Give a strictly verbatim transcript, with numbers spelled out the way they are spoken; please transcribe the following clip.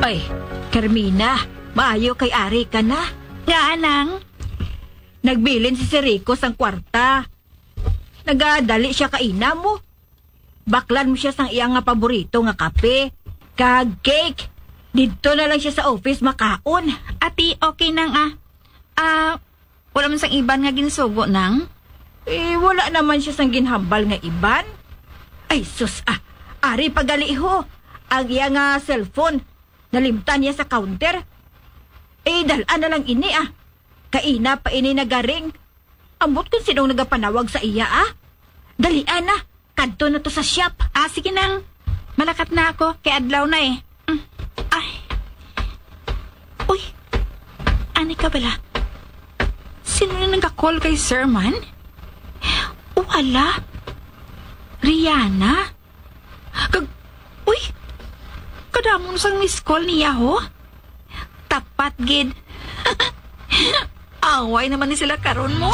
Ay, Carmina, maayo kay ari ka na. Nga, anang? Nagbilin si Sir Rico sang kwarta. Nagadali siya kaina mo. Baklan mo siya sang iya nga paborito nga kape kag cake. Didto na lang siya sa office makaon. Ati, okay nang, ah. Ah, wala man sang iban nga ginsugo, nang? Eh, wala naman siya sang ginhambal nga iban. Ay, sus, ah. Ari pa gali ho. Ang iya nga cellphone, nalimtan niya sa counter. Eh, dal-an na lang ini, ah. Kaina pa ini nagaring. Ambot kung sinong nagapanawag sa iya, ah. Dalian na. Kadto na to sa shop. Ah, sige nang. Malakat na ako. Kay adlaw na eh. Mm. Ay. Uy. Ani ka bala? Sino na nagka-call kay Sir man? O, hala. Rihanna? Kag, uy. Kadamo na sang miss call niya, ho? Tapat gid. Away naman ni sila karon mo.